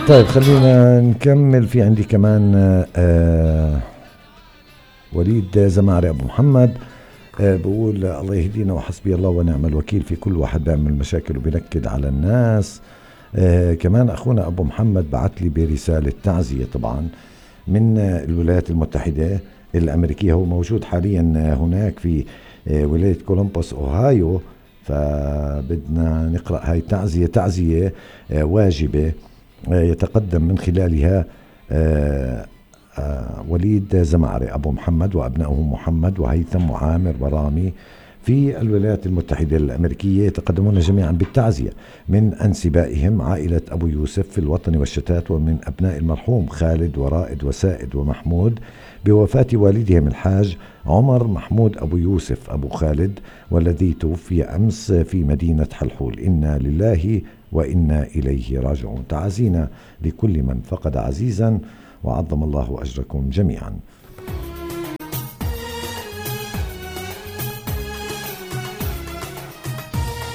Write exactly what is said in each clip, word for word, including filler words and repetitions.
طيب خلينا نكمل. في عندي كمان آه وليد زمعري أبو محمد آه بقول الله يهدينا وحسبي الله ونعم الوكيل في كل واحد بيعمل مشاكل وبينكد على الناس. آه كمان أخونا أبو محمد بعت لي برسالة تعزية طبعا من الولايات المتحدة الأمريكية. هو موجود حاليا هناك في آه ولاية كولومبوس أوهايو، فبدنا نقرأ هاي تعزية. تعزية آه واجبة آه يتقدم من خلالها آه آه وليد زمعري أبو محمد وأبنائه محمد وهيثم وعامر ورامي في الولايات المتحدة الأمريكية، يتقدمون جميعا بالتعزية من أنسبائهم عائلة أبو يوسف في الوطن والشتات، ومن أبناء المرحوم خالد ورائد وسائد ومحمود بوفاة والدهم الحاج عمر محمود أبو يوسف أبو خالد، والذي توفي أمس في مدينة حلحول. إنا لله وإنا إليه راجعون. تعزينا لكل من فقد عزيزا وعظم الله أجركم جميعا.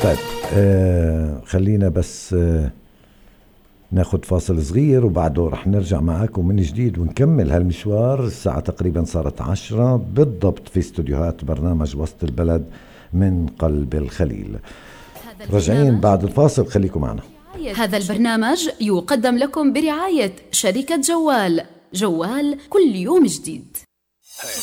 طيب آه خلينا بس آه ناخد فاصل صغير وبعده رح نرجع معاكم من جديد ونكمل هالمشوار. الساعة تقريبا صارت عشرة بالضبط في استوديوهات برنامج وسط البلد من قلب الخليل. رجعين بعد الفاصل، خليكم معنا. هذا البرنامج يقدم لكم برعاية شركة جوال. جوال كل يوم جديد.